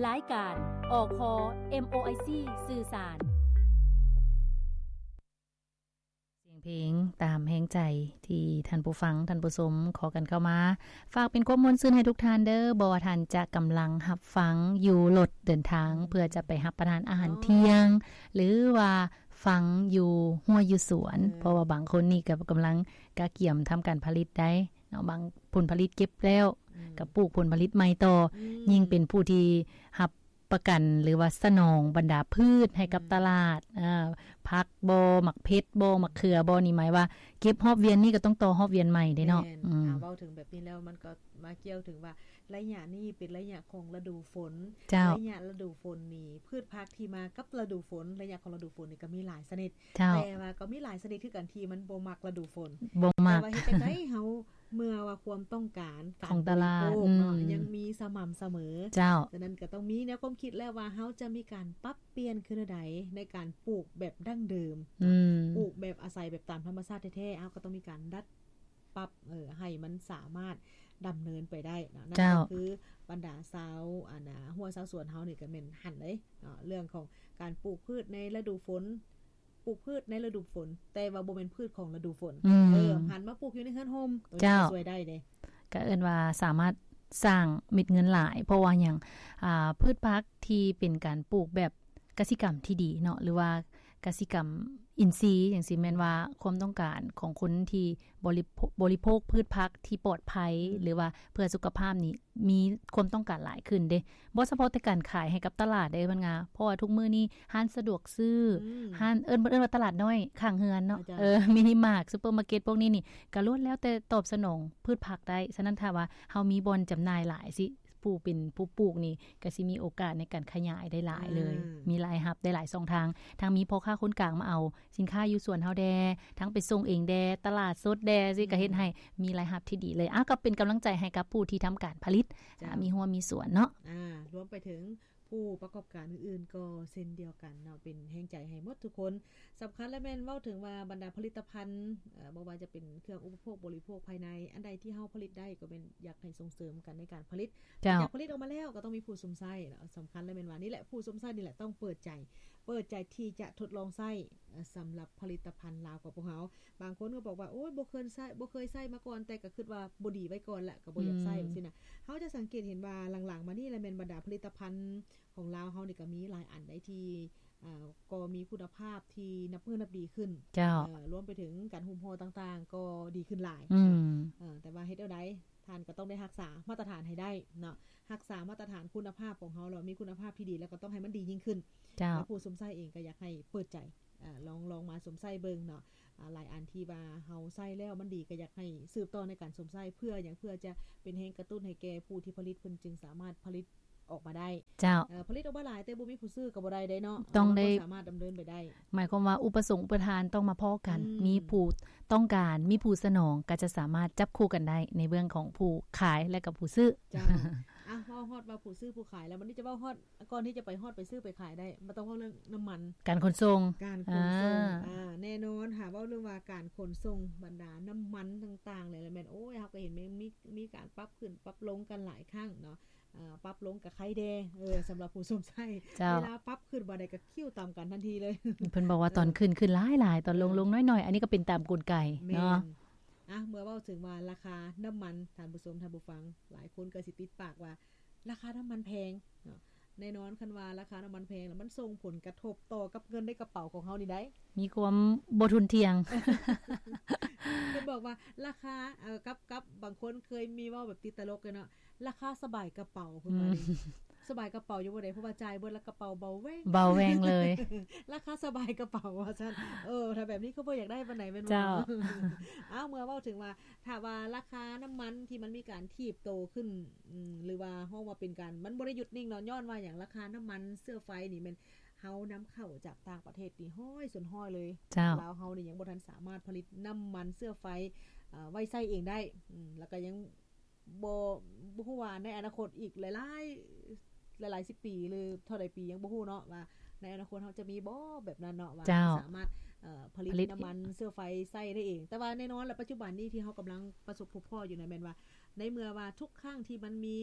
ລາຍການ ອຄ ເອັມໂອໄອຊີ ສື່ສານ. ສຽງເພງຕາມແຮງໃຈທີ່ທ່ານຜູ້ຟັງ, ທ່ານຜູ້ຊົມຂໍກັນເຂົ້າມາ. ຝາກເປັນຄວາມມ່ວນຊື່ນໃຫ້ທຸກທ່ານເດີ້, ບໍ່ວ່າທ່ານຈະກຳລັງຮັບຟັງຢູ່ລົດເດີນທາງ ອືມ ເພື່ອຈະໄປຮັບປະທານອາຫານ ອໍ ທ່ຽງ ຫຼືວ່າຟັງຢູ່ຮົ້ວຢູ່ສວນ, ເອີ ເພາະວ່າບາງຄົນນີ້ກໍກຳລັງກະກຽມທຳການຜະລິດໄດ໋ເນາະ, ບາງຜົນຜະລິດເກັບແລ້ວ ອືມ ກໍປູກຜົນຜະລິດໃໝ່ຕໍ່, ອືມ ຍິ່ງເປັນຜູ້ທີ່ຮັບປະກັນ ຫຼືວ່າສະໜອງບັນດາພືດໃຫ້ກັບ ອືມ ຕະຫຼາດ, ເອີ ຜັກບໍ ໝາກເຜັດບໍ ໝາກເຂືອບໍ ນີ້ໝາຍວ່າເກັບຮອບວຽນນີ້ກໍຕ້ອງຕໍ່ຮອບວຽນໃໝ່ເດ້ເນາະ. ແມ່ນ ອືມ ຖ້າເວົ້າເຖິງແບບນີ້ແລ້ວ ມັນກໍມາກ່ຽວເຖິງວ່າ ໄລຍະນີ້ເປັນໄລຍະຂອງລະດູຝົນ. ເຈົ້າ. ໄລຍະລະດູຝົນນີ້ ພືດຜັກທີ່ມາກັບລະດູຝົນ, ໄລຍະຂອງລະດູຝົນນີ້ກໍມີຫຼາຍຊະນິດ. ເຈົ້າ. ແຕ່ວ່າກໍມີຫຼາຍຊະນິດຄືກັນທີ່ມັນບໍ່ມັກລະດູຝົນ. ບໍ່ມັກ. ແຕ່ວ່າເຮັດຈັ່ງໃດເຮົາ ເມື່ອວ່າຄວາມຕ້ອງການຂອງຕະຫຼາດ ການບໍລິໂພກເນາະ ອືມ ຍັງມີສະໝ່ຳສະເໝີ. ເຈົ້າ. ສະນັ້ນກໍຕ້ອງມີແນວຄວາມຄິດແລ້ວວ່າ ເຮົາຈະມີການປັບປ່ຽນຄືແນວໃດໃນການປູກແບບດັ້ງເດີມ, ອືມ ປູກແບບອາໄສແບບຕາມທຳມະຊາດແທ້ໆ, ເຮົາກໍຕ້ອງມີການດັດປັບ ເອີ ໃຫ້ມັນສາມາດດຳເນີນໄປໄດ້ເນາະ. ເຈົ້າ. ນັ້ນກໍຄືບັນດາຊາວ ອັນນ່າ ຮົ້ວຊາວສວນເຮົານີ້ກໍແມ່ນຫັ້ນເດ້ເນາະ, ເລື່ອງຂອງການປູກພືດໃນລະດູຝົນ ປູກພືດໃນລະດູຝົນ ແຕ່ວ່າບໍ່ແມ່ນພືດຂອງລະດູຝົນ. ອືມ. ເອີ ຫັນມາປູກຢູ່ໃນເຮືອນຮົ່ມ ໂຕນີ້ ເຈົ້າ ກໍຊ່ວຍໄດ້ເດ້. ກໍເອີ້ນວ່າສາມາດສ້າງເມັດເງິນຫຼາຍ ເພາະວ່າຫຍັງ? ອ່າ ພືດຜັກທີ່ເປັນການປູກແບບກະສິກຳທີ່ດີເນາະ ຫຼືວ່າກະສິກຳອິນຊີຈັ່ງຊີ້ ແມ່ນວ່າຄວາມຕ້ອງການຂອງຄົນທີ່ບໍລິໂພ- ບໍລິໂພກພືດຜັກທີ່ປອດໄພ ອືມ ຫຼືວ່າເພື່ອສຸຂະພາບນີ້ ມີຄວາມຕ້ອງການຫຼາຍຂຶ້ນເດ້ ບໍ່ສະເພາະແຕ່ການຂາຍໃຫ້ກັບຕະຫຼາດເດ້ ເພິ່ນວ່າ ເພາະວ່າທຸກມື້ນີ້ຮ້ານສະດວກຊື້ ອືມ ຮ້ານ ເອີ້ນ ເພິ່ນເອີ້ນວ່າຕະຫຼາດນ້ອຍຂ້າງເຮືອນເນາະ ເຈົ້າ ເອີ ມິນິມາດ ຊຸບເປີມາເກັດ ພວກນີ້ນີ້ ກະລ້ວນແລ້ວແຕ່ຕອບສະໜອງພືດຜັກໄດ້. ສະນັ້ນ ຖ້າວ່າເຮົາມີບ່ອນຈຳໜ່າຍຫຼາຍຊິ ຜູ້ເປັນຜູ້ປູກນີ້ກະຊິມີໂອກາດໃນການຂະຫຍາຍໄດ້ຫຼາຍເລີຍ ອືມ ມີລາຍຮັບໄດ້ຫຼາຍຊ່ອງທາງ ທັງມີພໍ່ຄ້າຄົນກາງມາເອົາ ສິນຄ້າຢູ່ສວນເຮົາແດ່ ທັງໄປສົ່ງເອງແດ່ ຕະຫຼາດສົດແດ່ ອືມ ຊິກະເຮັດໃຫ້ມີລາຍຮັບທີ່ດີເລີຍ. ອ້າວ ກໍເປັນກຳລັງໃຈໃຫ້ກັບຜູ້ທີ່ທຳການຜະລິດ ເຈົ້າ ອາ ມີຮົ້ວມີສວນເນາະ ອາ ລວມໄປເຖິງຜູ້ປະກອບການອື່ນໆກໍເຊັ່ນດຽວກັນເນາະ ເປັນແຮງໃຈໃຫ້ໝົດທຸກຄົນ. ສຳຄັນແລະແມ່ນເວົ້າເຖິງວ່າບັນດາຜະລິດຕະພັນ ເອີ ບໍ່ວ່າຈະເປັນເຄື່ອງອຸປະໂພກບໍລິໂພກພາຍໃນ ອັນໃດທີ່ເຮົາຜະລິດໄດ້ກໍແມ່ນຢາກໃຫ້ສົ່ງເສີມກັນໃນການຜະລິດ ເຈົ້າ ຢາກຜະລິດອອກມາແລ້ວກໍຕ້ອງມີຜູ້ຊົມໃຊ້ເນາະ. ສຳຄັນແລະແມ່ນວ່ານີ້ແຫຼະ ຜູ້ຊົມໃຊ້ນີ້ແຫຼະຕ້ອງເປີດໃຈ ເປີດໃຈທີ່ຈະທົດລອງໃຊ້ ສຳລັບຜະລິດຕະພັນລາວຂອງພວກເຮົາ. ບາງຄົນກໍບອກວ່າ ໂອ້ຍ ບໍ່ເຄີຍໃຊ້ ບໍ່ເຄີຍໃຊ້ມາກ່ອນ ແຕ່ກໍຄິດວ່າບໍ່ດີໄວ້ກ່ອນແຫຼະ ກໍບໍ່ຢາກໃຊ້ ອືມ ຈັ່ງຊີ້ນະ. ເຮົາຈະສັງເກດເຫັນວ່າຫຼັງໆມານີ້ລະແມ່ນບັນດາຜະລິດຕະພັນຂອງລາວເຮົານີ້ກໍມີຫຼາຍອັນໃດທີ່ ເອີ ກໍມີຄຸນນະພາບທີ່ນັບມື້ນັບດີຂຶ້ນ ເຈົ້າ ເອີ ລວມໄປເຖິງການຫຸ້ມຫໍ່ຕ່າງໆກໍດີຂຶ້ນຫຼາຍ ອືມ ເນາະ ເອີ ແຕ່ວ່າເຮັດແນວໃດ ທ່ານກໍຕ້ອງໄດ້ຮັກສາມາດຕະຖານໃຫ້ໄດ້ເນາະ ຮັກສາມາດຕະຖານຄຸນນະພາບຂອງເຮົາ ແລ້ວມີຄຸນນະພາບທີ່ດີ ແລ້ວກໍຕ້ອງໃຫ້ມັນດີຍິ່ງຂຶ້ນ ເຈົ້າ ແລ້ວຜູ້ຊົມໃຊ້ເອງກໍຢາກໃຫ້ເປີດໃຈ ອາ ລອງ ລອງມາຊົມໃຊ້ເບິ່ງເນາະ ອາ ຫຼາຍອັນທີ່ວ່າເຮົາໃຊ້ແລ້ວມັນດີ ກໍຢາກໃຫ້ສືບຕໍ່ໃນການຊົມໃຊ້ ເພື່ອຫຍັງ? ເພື່ອຈະເປັນແຮງກະຕຸ້ນໃຫ້ແກ່ຜູ້ທີ່ຜະລິດ ເພິ່ນຈຶ່ງສາມາດຜະລິດອອກມາໄດ້ ເຈົ້າ ເອີ ຜະລິດອອກມາຫຼາຍ ແຕ່ບໍ່ມີຜູ້ຊື້ກໍບໍ່ໄດ້ເດ້ເນາະ ຕ້ອງໄດ້ ເຮົາກໍສາມາດດຳເນີນໄປໄດ້ ໝາຍຄວາມວ່າອຸປະສົງອຸປະທານຕ້ອງມາພໍ້ກັນ ອືມ ມີຜູ້ຕ້ອງການ ມີຜູ້ສະໜອງ ກໍຈະສາມາດຈັບຄູ່ກັນໄດ້ໃນເບື້ອງຂອງຜູ້ຂາຍ ແລະກໍຜູ້ຊື້ ເຈົ້າ ອ່ະ ເວົ້າຮອດວ່າຜູ້ຊື້ຜູ້ຂາຍແລ້ວ ບັດນີ້ຈະເວົ້າຮອດ ກ່ອນທີ່ຈະໄປຮອດໄປຊື້ໄປຂາຍໄດ້ ມັນຕ້ອງເວົ້າເລື່ອງນ້ຳມັນ ການຂົນສົ່ງ ການຂົນສົ່ງ ອ່າ ອ່າ ແນ່ນອນ ຖ້າເວົ້າເລື່ອງວ່າການຂົນສົ່ງບັນດານ້ຳມັນຕ່າງໆ ແລ້ວແມ່ນ ໂອ້ຍ ເຮົາກໍເຫັນແມ່ນມີ ມີການປັບຂຶ້ນປັບລົງກັນຫຼາຍຄັ້ງເນາະ ເອີ ປັບລົງກໍໄຄແດ່ ເອີ ສຳລັບຜູ້ຊົມໃຊ້ ເຈົ້າ ເວລາປັບຂຶ້ນບາດໃດກໍຄິ້ວຕຳກັນທັນທີເລີຍ ເພິ່ນບອກວ່າຕອນຂຶ້ນ ເອີ ຂຶ້ນຫຼາຍໆ ຕອນລົງ ເອີ ລົງໜ້ອຍໆ ອັນນີ້ກໍເປັນຕາມກົນໄກ ແມ່ນ ເນາະ ອ່ະ ເມື່ອເວົ້າເຖິງວ່າລາຄານ້ຳມັນ ທ່ານຜູ້ຊົມ ທ່ານຜູ້ຟັງ ຫຼາຍຄົນກໍຊິຕິດປາກວ່າ ລາຄານ້ຳມັນແພງເນາະ ແນ່ນອນ ຄັນວ່າລາຄານ້ຳມັນແພງແລ້ວ ມັນສົ່ງຜົນກະທົບຕໍ່ກັບເງິນໃນກະເປົາຂອງເຮົານີ້ໄດ໋ ມີຄວາມບໍ່ທຸ່ນທ່ຽງ ເພິ່ນບອກວ່າລາຄາ ເອີ ກັບ ກັບ ບາງຄົນເຄີຍມີເວົ້າແບບຕິດຕະຫຼົກເນາະ ລາຄາສະບາຍກະເປົາ ເພິ່ນວ່າ ອືມ ນີ້ ສະບາຍກະເປົາຢູ່ບໍ່ໄດ້ ເພາະວ່າຈ່າຍເບິດແລ້ວກະເປົາເບົາແວ່ງ ເບົາແວ່ງເລີຍ ລາຄາສະບາຍກະເປົາວ່າຊັ້ນ ເອີ ຖ້າແບບນີ້ຄືບໍ່ຢາກໄດ້ປານໃດແມ່ນບໍ່? ເຈົ້າ ເອົ້າ ເມື່ອເວົ້າເຖິງວ່າ ຖ້າວ່າລາຄານ້ຳມັນທີ່ມັນມີການຖີບໂຕຂຶ້ນ ອືມ ຫຼືວ່າເຮົາວ່າເປັນການ ມັນບໍ່ໄດ້ຢຸດນິ່ງເນາະ ຍ້ອນວ່າຫຍັງ? ລາຄານ້ຳມັນເຊື້ອໄຟນີ້ແມ່ນເຮົານຳເຂົ້າຈາກຕ່າງປະເທດນີ້ຮ້ອຍສ່ວນຮ້ອຍເລີຍ ເຈົ້າ ລາວເຮົານີ້ຍັງບໍ່ທັນສາມາດຜະລິດນ້ຳມັນເຊື້ອໄຟ ເອີ ໄວ້ໃຊ້ເອງໄດ້ ອືມ ແລ້ວກໍຍັງບໍ່ ບໍ່ຮູ້ວ່າໃນອະນາຄົດອີກຫຼາຍໆ ຫຼາຍໆສິບປີ ຫຼືເທົ່າໃດປີ ຍັງບໍ່ຮູ້ເນາະວ່າໃນອະນາຄົດເຮົາຈະມີບໍ່ແບບນັ້ນເນາະ ວ່າ ເຈົ້າ ສາມາດ ເອີ ຜະລິດ ຜະລິດນ້ຳມັນເຊື້ອໄຟໃຊ້ໄດ້ເອງ ແຕ່ວ່າແນ່ນອນລະ ປັດຈຸບັນນີ້ທີ່ເຮົາກຳລັງປະສົບພົບພໍ້ຢູ່ນັ້ນແມ່ນວ່າ ໃນເມື່ອວ່າທຸກຄັ້ງທີ່ມັນມີ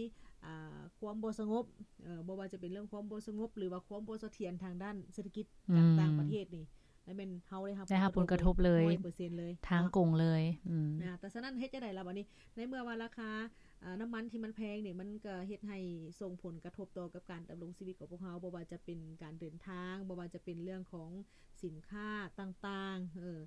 ອ່າ ຄວາມບໍ່ສະຫງົບ ເອີ ບໍ່ວ່າຈະເປັນເລື່ອງຄວາມບໍ່ສະຫງົບ ຫຼືວ່າຄວາມບໍ່ສະຖຽນທາງດ້ານເສດຖະກິດ ອືມ ຈາກຕ່າງປະເທດນີ້ ແລ້ວແມ່ນເຮົາໄດ້ຮັບ ໄດ້ຮັບຜົນກະທົບເລີຍ ຮ້ອຍເປີເຊັນເລີຍ ທາງກົງເລີຍ ເນາະ ອືມ ອາ ແຕ່ສະນັ້ນເຮັດຈັ່ງໃດລະບາດນີ້ ໃນເມື່ອວ່າລາຄາ ອາ ນ້ຳມັນທີ່ມັນແພງນີ້ ມັນກໍເຮັດໃຫ້ສົ່ງຜົນກະທົບຕໍ່ກັບການດຳລົງຊີວິດຂອງພວກເຮົາ ບໍ່ວ່າຈະເປັນການເດີນທາງ ບໍ່ວ່າຈະເປັນເລື່ອງຂອງສິນຄ້າຕ່າງໆ ເອີ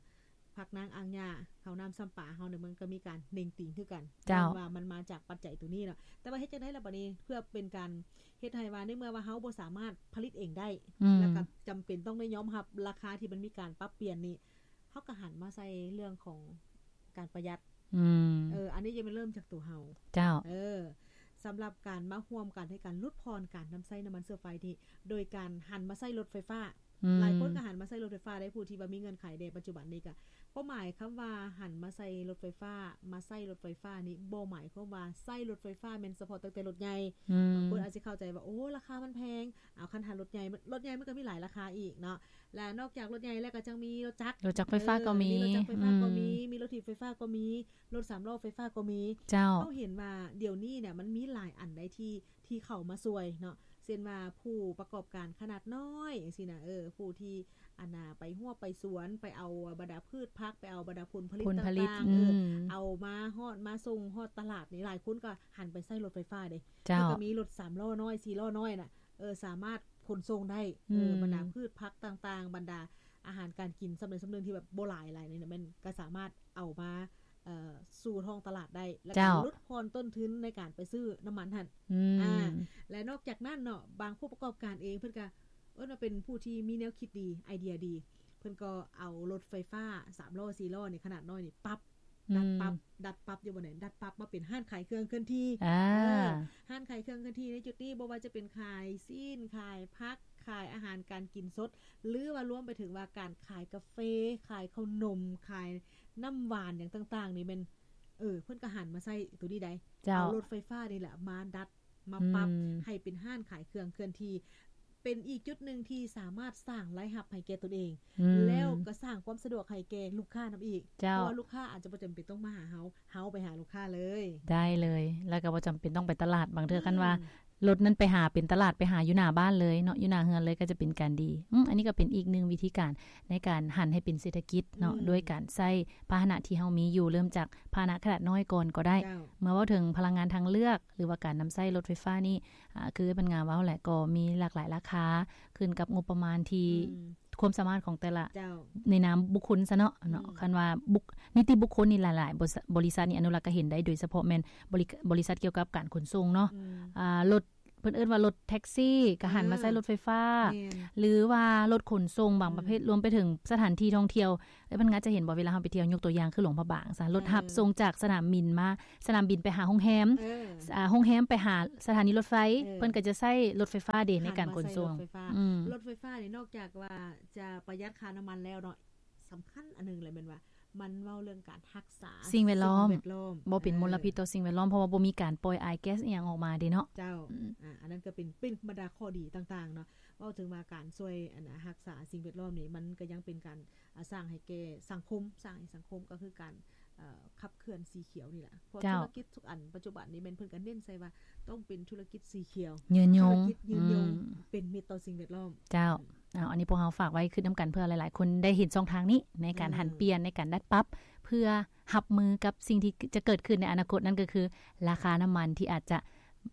ຜັກນາງອ່າງຫຍ້າ ເຂົ້ານ້ຳຊຳປາເຮົານີ້ ມັນກໍມີການເໜັງຕີງຄືກັນ ເຈົ້າ ຍ້ອນວ່າມັນມາຈາກປັດໄຈໂຕນີ້ເນາະ ແຕ່ວ່າເຮັດຈັ່ງໃດລະບາດນີ້ ເພື່ອເປັນການເຮັດໃຫ້ວ່າ ໃນເມື່ອວ່າເຮົາບໍ່ສາມາດຜະລິດເອງໄດ້ ອືມ ແລ້ວກໍຈຳເປັນຕ້ອງໄດ້ຍອມຮັບລາຄາທີ່ມັນມີການປັບປ່ຽນນີ້ ເຮົາກໍຫັນມາໃສ່ເລື່ອງຂອງການປະຢັດ ອືມ ເອີ ອັນນີ້ຈະແມ່ນເລີ່ມຈາກຕົວເຮົາ ເຈົ້າ ເອີ ສຳລັບການມາຮ່ວມກັນໃນການຫຼຸດຜ່ອນການນຳໃຊ້ນ້ຳມັນເຊື້ອໄຟນີ້ ໂດຍການຫັນມາໃຊ້ລົດໄຟຟ້າ ອືມ ຫຼາຍຄົນກໍຫັນມາໃຊ້ລົດໄຟຟ້າໄດ້ ຜູ້ທີ່ວ່າມີເງື່ອນໄຂແດ່ ປັດຈຸບັນນີ້ກໍ ຄວາມໝາຍຄຳວ່າຫັນມາໃຊ້ລົດໄຟຟ້າ ມາໃຊ້ລົດໄຟຟ້ານີ້ ບໍ່ໝາຍຄວາມວ່າໃຊ້ລົດໄຟຟ້າແມ່ນສະເພາະຕັ້ງແຕ່ລົດໃຫຍ່ ອືມ ບາງຄົນອາດຊິເຂົ້າໃຈວ່າ ໂອ້ ລາຄາມັນແພງ ເອົາ ຄັນຫາລົດໃຫຍ່ ລົດໃຫຍ່ມັນກໍມີຫຼາຍລາຄາອີກເນາະ ແລະ ນອກຈາກລົດໃຫຍ່ແລ້ວກໍຍັງມີລົດຈັກ ລົດຈັກໄຟຟ້າກໍມີ ເອີ ມີລົດຖີບໄຟຟ້າກໍມີ ອືມ ມີລົດຖີບໄຟຟ້າກໍມີ ລົດສາມລໍ້ໄຟຟ້າກໍມີ ເຈົ້າ ເຮົາເຫັນວ່າດຽວນີ້ນະ ມັນມີຫຼາຍອັນໃດທີ່ ທີ່ເຂົ້າມາຊ່ວຍເນາະ ເຊັ່ນວ່າຜູ້ປະກອບການຂະໜາດນ້ອຍຈັ່ງຊີ້ນະ ເອີ ຜູ້ທີ່ ອັນນ່າ ໄປຮວບໄປສວນ ໄປເອົາບັນດາພືດຜັກ ໄປເອົາບັນດາຜົນຜະລິດ ຜົນຜະລິດ ຕ່າງໆ ອືມ ເອີ ເອົາມາຮອດ ມາສົ່ງຮອດຕະຫຼາດນີ້ ຫຼາຍຄົນກໍຫັນໄປໃຊ້ລົດໄຟຟ້າເດ້ ເຈົ້າ ເພິ່ນກໍມີລົດສາມລໍ້ນ້ອຍ ສີ່ລໍ້ນ້ອຍນະ ເອີ ສາມາດຂົນສົ່ງໄດ້ ອືມ ເອີ ບັນດາພືດຜັກຕ່າງໆ ບັນດາອາຫານການກິນສ່ຳໃດສ່ຳໜຶ່ງທີ່ແບບບໍ່ຫຼາຍຫຼາຍນີ້ນະ ແມ່ນກໍສາມາດເອົາມາ ເອີ ສູ່ທ້ອງຕະຫຼາດໄດ້ ແລ້ວກໍ ເຈົ້າ ຫຼຸດຜ່ອນຕົ້ນທຶນໃນການໄປຊື້ນ້ຳມັນຫັ້ນ ອືມ ອາ ແລະ ນອກຈາກນັ້ນເນາະ ບາງຜູ້ປະກອບການເອງ ເພິ່ນກໍເອີ້ນວ່າເປັນຜູ້ທີ່ມີແນວຄິດດີ ໄອເດຍດີ ເພິ່ນກໍເອົາລົດໄຟຟ້າສາມລໍ້ ສີ່ລໍ້ນີ້ ຂະໜາດນ້ອຍນີ້ ປັບ ອືມ ດັດປັບ ດັດປັບຢູ່ບ່ອນໃດ ດັດປັບມາເປັນຮ້ານຂາຍເຄື່ອງເຄື່ອນທີ່ ອາ ເອີ ຮ້ານຂາຍເຄື່ອງເຄື່ອນທີ່ໃນຈຸດນີ້ ບໍ່ວ່າຈະເປັນຂາຍຊີ້ນ ຂາຍຜັກ ຂາຍອາຫານການກິນສົດ ຫຼືວ່າລວມໄປເຖິງວ່າການຂາຍກາເຟ ຂາຍເຂົ້າໜົມ ຂາຍ ນ້ຳຫວານຫຍັງຕ່າງໆນີ້ແມ່ນ ເອີ ເພິ່ນກໍຫັນມາໃຊ້ໂຕນີ້ໄດ໋ ເຈົ້າ ເອົາລົດໄຟຟ້ານີ້ແຫຼະມາດັດ ມາປັບ ອືມ ໃຫ້ເປັນຮ້ານຂາຍເຄື່ອງເຄື່ອນທີ່ ເປັນອີກຈຸດໜຶ່ງທີ່ສາມາດສ້າງລາຍຮັບໃຫ້ແກ່ຕົນເອງ ອືມ ແລ້ວກໍສ້າງຄວາມສະດວກໃຫ້ແກ່ລູກຄ້ານຳອີກ ເຈົ້າ ເພາະວ່າລູກຄ້າອາດຈະບໍ່ຈຳເປັນຕ້ອງມາຫາເຮົາ ເຮົາໄປຫາລູກຄ້າເລີຍ ໄດ້ເລີຍ ແລ້ວກໍບໍ່ຈຳເປັນຕ້ອງໄປຕະຫຼາດ ບາງເທື່ອ ອືມ ຄັນວ່າ ລົດນັ້ນໄປຫາເປັນຕະຫຼາດ ໄປຫາຢູ່ໜ້າບ້ານເລີຍເນາະ ຢູ່ໜ້າເຮືອນເລີຍ ກໍຈະເປັນການດີ ອືມ ອັນນີ້ກໍເປັນອີກໜຶ່ງວິທີການໃນການຫັນໃຫ້ເປັນເສດຖະກິດເນາະ ອືມ ດ້ວຍການໃຊ້ພາຫະນະທີ່ເຮົາມີຢູ່ ເລີ່ມຈາກພາຫະນະຂະໜາດນ້ອຍກ່ອນກໍໄດ້ ເຈົ້າ ເມື່ອເວົ້າເຖິງພະລັງງານທາງເລືອກ ຫຼືວ່າການນຳໃຊ້ລົດໄຟຟ້ານີ້ ອາ ຄືເພິ່ນງາມເວົ້າແຫຼະ ກໍມີຫຼາກຫຼາຍລາຄາ ຂຶ້ນກັບງົບປະມານທີ່ ອືມ ຄວາມສາມາດຂອງແຕ່ລະ ເຈົ້າ ໃນນາມບຸກຄົນຊະເນາະ ເນາະ ອືມ ຄັນວ່າບຸກ ນິຕິບຸກຄົນນີ້ຫຼາຍໆ ບໍລິ ບໍລິສັດນີ້ອະນຸລັກກະເຫັນໄດ້ ໂດຍສະເພາະແມ່ນບໍລິ ບໍລິສັດກ່ຽວກັບການຂົນສົ່ງເນາະ ອືມ ອາ ລົດ ເພິ່ນເອີ້ນວ່າລົດແທັກຊີ ກໍຫັນມາໃຊ້ ເອີ ລົດໄຟຟ້າ ແມ່ນ ຫຼືວ່າລົດຂົນສົ່ງບາງປະເພດ ອືມ ລວມໄປເຖິງສະຖານທີ່ທ່ອງທ່ຽວ ເອີ ເພິ່ນອາດຈະເຫັນບໍ່ ເວລາເຮົາໄປທ່ຽວ ຍົກຕົວຢ່າງຄືຫຼວງພະບາງຊະ ລົດຮັບ ເອີ ສົ່ງຈາກສະໜາມບິນມາ ສະໜາມບິນໄປຫາໂຮງແຮມ ເອີ ອາ ໂຮງແຮມໄປຫາສະຖານີລົດໄຟ ເອີ ເພິ່ນກໍຈະໃຊ້ລົດໄຟຟ້າເດ ໃນການຂົນສົ່ງ ຫັນມາໃຊ້ລົດໄຟຟ້າ ອືມ ລົດໄຟຟ້ານີ້ນອກຈາກວ່າຈະປະຢັດຄ່ານ້ຳມັນແລ້ວເນາະ ສຳຄັນອັນໜຶ່ງແຫຼະແມ່ນວ່າ ມັນເວົ້າເລື່ອງການຮັກສາສິ່ງແວດລ້ອມ ສິ່ງແວດລ້ອມ ບໍ່ເປັນ ເອີ ມົນລະພິດຕໍ່ສິ່ງແວດລ້ອມ ເພາະວ່າບໍ່ມີການປ່ອຍອາຍແກັສອີ່ຫຍັງອອກມາເດເນາະ ເຈົ້າ ອືມ ອາ ອັນນັ້ນກໍເປັນ ເປັນບັນດາຂໍ້ດີຕ່າງໆເນາະ ເວົ້າເຖິງວ່າການຊ່ວຍ ອັນ ຮັກສາສິ່ງແວດລ້ອມນີ້ ມັນກໍຍັງເປັນການ ອາ ສ້າງໃຫ້ແກ່ສັງຄົມ ສ້າງໃຫ້ສັງຄົມ ກໍຄືການ ເອີ່ ຂັບເຄື່ອນສີຂຽວນີ້ແຫຼະ ເພາະ ເຈົ້າ ທຸລະກິດທຸກອັນປັດຈຸບັນນີ້ແມ່ນເພິ່ນກໍເນັ້ນໃສ່ວ່າຕ້ອງເປັນທຸລະກິດສີຂຽວ ຍືນຍົງ ທຸລະກິດຍືນຍົງ ອືມ ເປັນມິດຕໍ່ສິ່ງແວດລ້ອມ ເຈົ້າ ເອົາ ອັນນີ້ພວກເຮົາຝາກໄວ້ຄືນຳກັນ ເພື່ອຫຼາຍໆຄົນໄດ້ເຫັນຊ່ອງທາງນີ້ໃນການ ເອີ ຫັນປ່ຽນ ໃນການດັດປັບ ເພື່ອຮັບມືກັບສິ່ງທີ່ຈະເກີດຂຶ້ນໃນອະນາຄົດ ນັ້ນກໍຄືລາຄານ້ຳມັນທີ່ອາດຈະ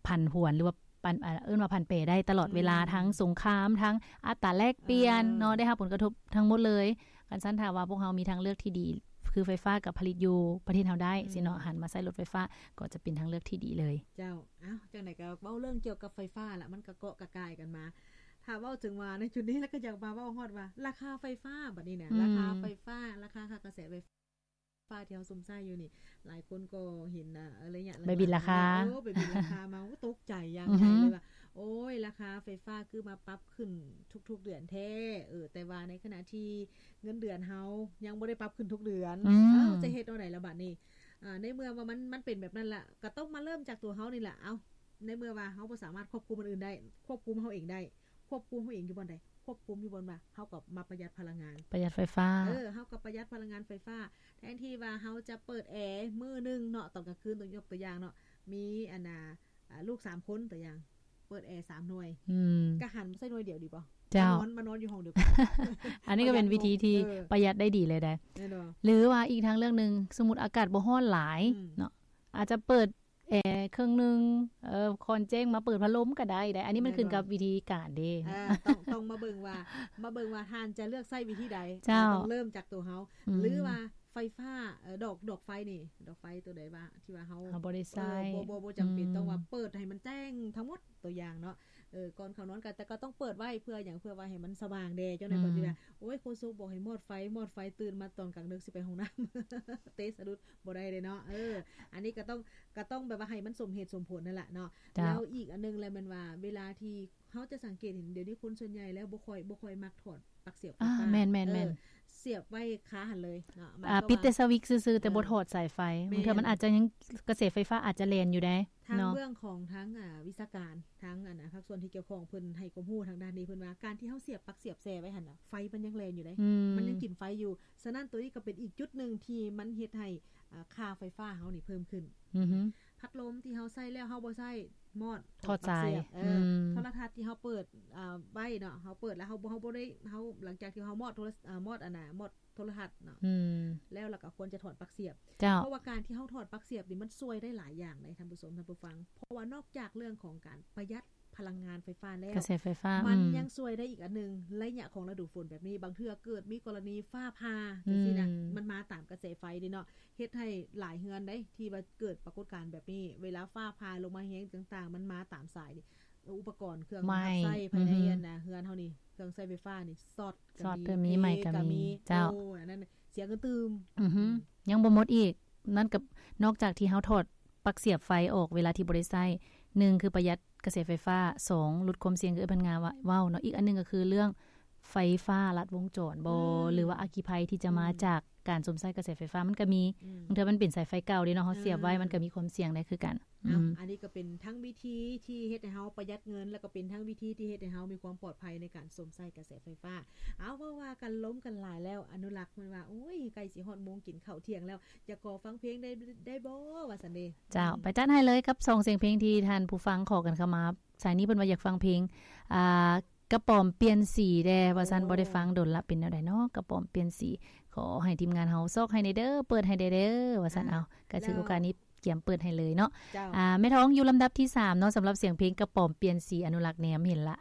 ຜັນຜວນ ຫຼືວ່າ ປັນ ເອີ້ນວ່າຜັນແປໄດ້ຕະຫຼອດເວລາ ອືມ ທັງສົງຄາມ ທັງອັດຕາແລກປ່ຽນ ເອີ ເນາະ ໄດ້ຮັບຜົນກະທົບທັງໝົດເລີຍ. ຄັນຊັ້ນຖ້າວ່າພວກເຮົາມີທາງເລືອກທີ່ດີ ຄືໄຟຟ້າກໍຜະລິດຢູ່ປະເທດເຮົາໄດ້ ອືມ ຊີ້ເນາະ ຫັນມາໃຊ້ລົດໄຟຟ້າກໍຈະເປັນທາງເລືອກທີ່ດີເລີຍ. ເຈົ້າ ເອົ້າ ຈັ່ງໃດກໍເວົ້າເລື່ອງກ່ຽວກັບໄຟຟ້າລະ ມັນກໍເກາະກະກ່າຍກັນມາ. ຖ້າເວົ້າເຖິງວ່າໃນຈຸດນີ້ລະ ກໍຢາກມາເວົ້າຮອດວ່າລາຄາໄຟຟ້າບັດນີ້ນະ ອືມ ລາຄາໄຟຟ້າ ລາຄາຄ່າກະແສໄຟ ຟ້າທີ່ເຮົາຊົມໃຊ້ຢູ່ນີ້ ຫຼາຍຄົນກໍເຫັນ ອາ ໄລຍະຫຼັງໆ ໃບບິນລາຄາ ເອີ ໃບບິນລາຄາມາ ໂອ້ ຕົກໃຈຢ່າງໃຫຍ່ເລີຍວ່າ ອືຮຶ ໂອ້ຍ ລາຄາໄຟຟ້າຄືມາປັບຂຶ້ນທຸກໆເດືອນແທ້ ເອີ ແຕ່ວ່າໃນຂະນະທີ່ເງິນເດືອນເຮົາຍັງບໍ່ໄດ້ປັບຂຶ້ນທຸກເດືອນ ອືມ ເອົ້າ ຈະເຮັດແນວໃດລະບາດນີ້? ອາ ໃນເມື່ອວ່າມັນ ມັນເປັນແບບນັ້ນລະ ກໍຕ້ອງມາເລີ່ມຈາກຕົວເຮົານີ້ລະ ເອົ້າ ໃນເມື່ອວ່າເຮົາບໍ່ສາມາດຄວບຄຸມຄົນອື່ນໄດ້ ຄວບຄຸມເຮົາເອງໄດ້ ຄວບຄຸມເຮົາເອງຢູ່ບ່ອນໃດ? ຄວບຄຸມຢູ່ບ່ອນວ່າເຮົາກໍມາປະຢັດພະລັງງານ ປະຢັດໄຟຟ້າ ເອີ ເຮົາກໍປະຢັດພະລັງງານໄຟຟ້າ ແທນທີ່ວ່າເຮົາຈະເປີດແອມື້ໜຶ່ງເນາະ ຕອນກາງຄືນ ຕົວ ຍົກຕົວຢ່າງເນາະ ມີອັນນ່າ ອາ ລູກສາມຄົນ ຕົວຢ່າງ ເປີດແອສາມໜ່ວຍ ອືມ ກະຫັນມາໃສ່ໜ່ວຍດຽວດີບໍ່? ເຈົ້າ ມານອນ ມານອນຢູ່ຫ້ອງດຽວກັນ ອັນນີ້ກໍເປັນວິທີທີ່ປະຢັດໄດ້ດີເລີຍເດ້ ແມ່ນບໍ່? ຫຼືວ່າອີກທາງເລືອກໜຶ່ງ ສົມມຸດອາກາດບໍ່ຮ້ອນຫຼາຍ ອືມ ເນາະ ອາດຈະເປີດແອເຄິ່ງໜຶ່ງ ເອີ ຄອນແຈ້ງມາເປີດພັດລົມກໍໄດ້ເດ້ ອັນນີ້ມັນຂຶ້ນກັບວິທີການເດ້ ເອີ ຕ້ອງ ຕ້ອງມາເບິ່ງວ່າ ມາເບິ່ງວ່າທ່ານຈະເລືອກໃຊ້ວິທີໃດ ເຈົ້າ ຕ້ອງເລີ່ມຈາກຕົວເຮົາ ອືມ ຫຼືວ່າໄຟຟ້າ ເອີ ດອກ ດອກໄຟນີ້ ດອກໄຟຕົວໃດວ່າ ທີ່ວ່າເຮົາ ເຮົາບໍ່ໄດ້ໃຊ້ ເອີ ບໍ່ ບໍ່ ບໍ່ຈຳເປັນ ອືມ ຕ້ອງວ່າເປີດໃຫ້ມັນແຈ້ງທັງໝົດ ຕົວຢ່າງເນາະ ເອີ ກ່ອນເຂົ້ານອນກໍ ແຕ່ກໍຕ້ອງເປີດໄວ້ ເພື່ອຫຍັງ? ເພື່ອວ່າໃຫ້ມັນສະຫວ່າງແດ່ ຈັ່ງໃດ ອືມ ເພິ່ນຊິວ່າ ໂອ້ຍ ໂຄສົກບອກໃຫ້ມອດໄຟ ມອດໄຟ ຕື່ນມາຕອນກາງເດິກຊິໄປຫ້ອງນ້ຳ ເຕະສະດຸດ ບໍ່ໄດ້ເດ້ເນາະ ເອີ ອັນນີ້ກໍຕ້ອງ ກໍຕ້ອງແບບວ່າໃຫ້ມັນສົມເຫດສົມຜົນນັ້ນລະເນາະ ເຈົ້າ ແລ້ວອີກອັນໜຶ່ງແຫຼະ ແມ່ນວ່າເວລາທີ່ເຮົາຈະສັງເກດເຫັນ ດຽວນີ້ຄົນສ່ວນໃຫຍ່ແລ້ວບໍ່ຄ່ອຍ ບໍ່ຄ່ອຍມັກຖອດປັກສຽບໄຟຟ້າ ອ່າ ແມ່ນໆໆ ເອີ ສຽບໄວ້ຄາຫັ້ນເລີຍເນາະ ອ່າ ປິດແຕ່ສະວິກຊື່ໆ ເອີ ແຕ່ບໍ່ຖອດສາຍໄຟ ແມ່ນ ບາງເທື່ອມັນອາດຈະຍັງ ກະແສໄຟຟ້າອາດຈະແລ່ນຢູ່ໃດ ທາງເນາະ ເບື້ອງຂອງທາງ ອ່າ ວິຊາການ ທາງ ອັນ ພາກສ່ວນທີ່ກ່ຽວຂ້ອງ ເພິ່ນໃຫ້ຄວາມຮູ້ທາງດ້ານນີ້ ເພິ່ນວ່າການທີ່ເຮົາສຽບປັກສຽບແຊ່ໄວ້ຫັ້ນນະ ໄຟມັນຍັງແລ່ນຢູ່ເດ້ ອືມ ມັນຍັງກິນໄຟຢູ່ ສະນັ້ນ ໂຕນີ້ກໍເປັນອີກຈຸດໜຶ່ງທີ່ມັນເຮັດໃຫ້ ອ່າ ຄ່າໄຟຟ້າເຮົານີ້ເພີ່ມຂຶ້ນ ອືຮຶ ພັດລົມທີ່ເຮົາໃຊ້ແລ້ວເຮົາບໍ່ໃຊ້ ມອດ ຖອດສາຍ ຖອດປັກສຽບ ເອີ ອືມ ໂທລະທັດທີ່ເຮົາເປີດ ອ່າ ໄວ້ເນາະ ເຮົາເປີດແລ້ວເຮົາ ເຮົາບໍ່ໄດ້ ເຮົາ ຫຼັງຈາກທີ່ເຮົາມອດໂທລະ ອ່າ ມອດ ອັນນະ ມອດ ໂທລະທັດເນາະ ອືມ ແລ້ວ ແລ້ວກໍຄວນຈະຖອດປັກສຽບ ເຈົ້າ ເພາະວ່າການທີ່ເຮົາຖອດປັກສຽບນີ້ມັນຊ່ວຍໄດ້ຫຼາຍຢ່າງເດ້ ທ່ານຜູ້ຊົມ ທ່ານຜູ້ຟັງ ເພາະວ່ານອກຈາກເລື່ອງຂອງການປະຢັດພະລັງງານໄຟຟ້າແລ້ວ ກະແສໄຟຟ້າ ມັນ ອືມ ຍັງຊ່ວຍໄດ້ອີກອັນໜຶ່ງ ໄລຍະຂອງລະດູຝົນແບບນີ້ ບາງເທື່ອເກີດມີກໍລະນີຟ້າຜ່າ ອືມ ຈັ່ງຊີ້ນະ ມັນມາຕາມກະແສໄຟເດ້ເນາະ ເຮັດໃຫ້ຫຼາຍເຮືອນເດ້ ທີ່ວ່າເກີດປາກົດການແບບນີ້ ເວລາຟ້າຜ່າລົງມາແຮງຕ່າງໆ ມັນມາຕາມສາຍນີ້ ອຸປະກອນເຄື່ອງ ໄໝ້ ຮັບໃຊ້ພາຍໃນ ອືຮຶ ອັນນະ ເຮືອນເຮົານີ້ ເຄື່ອງໃຊ້ໄຟຟ້ານີ້ ຊັອດ ຊັອດກໍມີ ໄໝ້ກໍມີ ເຈົ້າ ໂອ້ ອັນນັ້ນເສຍເງິນຕື່ມ ອືຮຶ ອືມ ຍັງບໍ່ໝົດອີກ ນັ້ນກໍນອກຈາກທີ່ເຮົາຖອດປັກສຽບໄຟອອກເວລາທີ່ບໍ່ໄດ້ໃຊ້ ໜຶ່ງຄືປະຢັດກະແສໄຟຟ້າ ສອງ ຫຼຸດຄວາມສ່ຽງ ຄືເອື້ອຍພັນງາເວົ້າເນາະ ອີກອັນໜຶ່ງກໍຄືເລື່ອງໄຟຟ້າລັດວົງຈອນບໍ ອືມ ຫຼືວ່າອັກຄີໄພທີ່ຈະມາ ອືມ ຈາກການສຸມໃຊ້ກະແສໄຟຟ້າ ມັນກໍມີ ອືມ ບາງເທື່ອມັນເປັນສາຍໄຟເກົ່າເດ້ເນາະ ເຮົາ ເອີ ສຽບໄວ້ ມັນກໍມີຄວາມສ່ຽງໄດ້ຄືກັນ ເອົາ ອືມ ອັນນີ້ກໍເປັນທັງວິທີທີ່ເຮັດໃຫ້ເຮົາປະຢັດເງິນ ແລ້ວກໍເປັນທັງວິທີທີ່ເຮັດໃຫ້ເຮົາມີຄວາມປອດໄພໃນການສຸມໃຊ້ກະແສໄຟຟ້າ. ເອົາ ເວົ້າວ່າກັນລົມກັນຫຼາຍແລ້ວ ອະນຸລັກເພິ່ນວ່າ ໂອ້ຍ ໃກ້ຊິຮອດໂມງກິນເຂົ້າທ່ຽງແລ້ວ ຢາກຂໍຟັງເພງໄດ້ ໄດ້ບໍ່ ວ່າຊັ້ນເດ້. ເຈົ້າ ອືມ ໄປຈັດໃຫ້ເລີຍກັບສອງສຽງເພງທີ່ທ່ານຜູ້ຟັງຂໍກັນເຂົ້າມາ. ສາຍນີ້ເພິ່ນວ່າຢາກຟັງເພງ ອ່າ ກະປອມປ່ຽນສີແດ່ ວ່າຊັ້ນ. ໂອ້ ບໍ່ໄດ້ຟັງດົນລະ ເປັນແນວໃດເນາະ ກະປອມປ່ຽນສີ. ຂໍໃຫ້ທີມງານເຮົາຊອກໃຫ້ແດ່ເດີ ເປີດໃຫ້ແດ່ເດີ ວ່າຊັ້ນ. ອ່າ ເອົາ ກະຖືໂອກາດນີ້ກຽມເປີດໃຫ້ເລີຍເນາະ. ເຈົ້າ ອ່າ ແມ່ທອງຢູ່ລຳດັບທີສາມເນາະ ສຳລັບສຽງເພງກະປອມປ່ຽນສີ ອະນຸລັກແນມເຫັນລະ.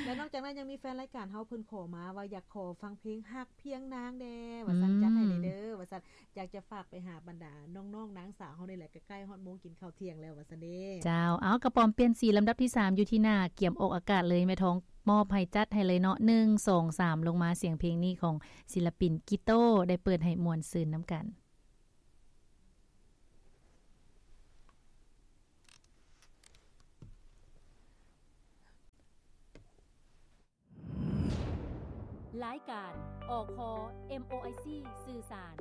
ແລະ ນອກຈາກນັ້ນຍັງມີແຟນລາຍການເຮົາເພິ່ນຂໍມາວ່າຢາກຂໍຟັງເພງຮັກພຽງນາງແດ່ ວ່າຊັ້ນ. ອືມ ຈັດໃຫ້ແດ່ເດີ ວ່າຊັ້ນ. ຢາກຈະຝາກໄປຫາບັນດານ້ອງໆນາງສາວເຮົານີ້ແຫຼະ ໃກ້ໆຮອດໂມງກິນເຂົ້າທ່ຽງແລ້ວ ວ່າຊັ້ນເດ້. ເຈົ້າ ເອົາ ກະປອມປ່ຽນສີລຳດັບທີສາມຢູ່ທີ່ໜ້າ ກຽມອອກອາກາດເລີຍ ແມ່ທອງມອບໃຫ້ ຈັດໃຫ້ເລີຍເນາະ ໜຶ່ງ ສອງ ສາມ ລົງມາ. ສຽງເພງນີ້ຂອງສິນລະປິນກິໂຕ ໄດ້ເປີດໃຫ້ມ່ວນຊື່ນນຳກັນ. ລາຍການ ອຄ ເອັມໂອໄອຊີ ສື່ສານ.